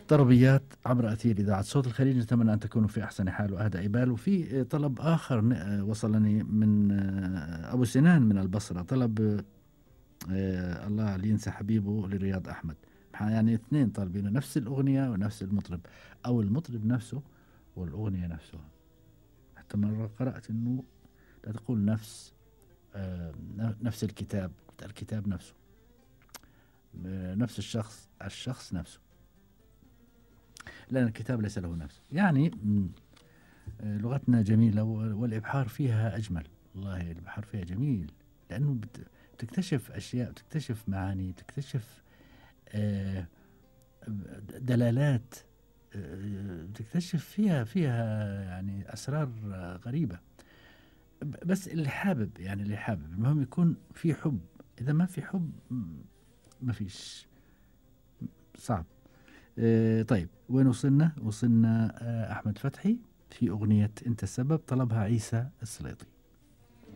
طربيات عبر أثير إذاعة صوت الخليج، نتمنى أن تكونوا في أحسن حال وأهدى بال. وفي طلب آخر وصلني من أبو سنان من البصرة، طلب الله اللي ينسى حبيبه لرياض أحمد. يعني اثنين طالبين نفس الأغنية ونفس المطرب، أو المطرب نفسه والأغنية نفسها. حتى مرة قرأت أنه لا تقول نفس الكتاب، الكتاب نفسه، نفس الشخص نفسه، لأن الكتاب ليس له نفس. يعني لغتنا جميلة والإبحار فيها أجمل. والله البحر فيها جميل، لأنه تكتشف أشياء، تكتشف معاني، تكتشف دلالات، تكتشف فيها يعني أسرار غريبة. بس اللي حابب المهم يكون في حب. إذا ما في حب ما فيش، صعب. طيب وين وصلنا أحمد فتحي في أغنية أنت السبب، طلبها عيسى السليطي.